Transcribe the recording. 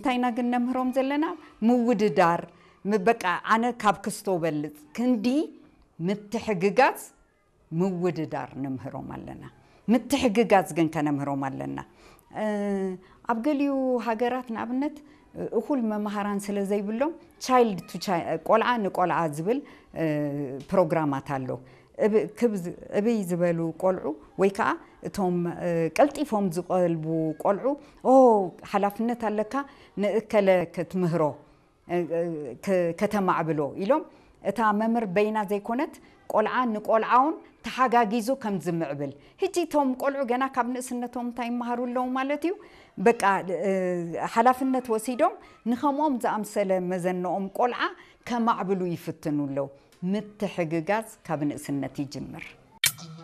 እንታይ ኢና ግን ነምህሮም ዘለና? ምውድዳር። በቃ ኣነ ካብ ክስቶ በልፅ ክንዲ ምትሕግጋዝ ምውድዳር ነምህሮም ኣለና። ምትሕግጋዝ ግን ከነምህሮም ኣለና። ኣብ ገሊኡ ሃገራት ንኣብነት እኹል መምሃራን ስለ ዘይብሎም ቻይልድ ቱ ቆልዓ ንቆልዓ ዝብል ፕሮግራማት ኣሎ። እብይ ዝበሉ ቆልዑ ወይ ከዓ እቶም ቀልጢፎም ዝቐልቡ ቆልዑ ኦ ሓላፍነት ኣለካ ንእከለ ክትምህሮ ከተማዕብሎ ኢሎም እታ መምህር በይና ዘይኮነት ቆልዓ ንቆልዓውን ተሓጋጊዙ ከም ዝምዕብል ሕጂ እቶም ቆልዑ ገና ካብ ንእስነቶም እንታይ ይመሃሩ ኣለዉ ማለት እዩ። በቃ ሓላፍነት ወሲዶም ንኸምኦም ዝኣምሰለ መዘንኦም ቆልዓ ከማዕብሉ ይፍትኑ ኣለዉ። ምትሕግጋዝ ካብ ንእስነት ይጅምር።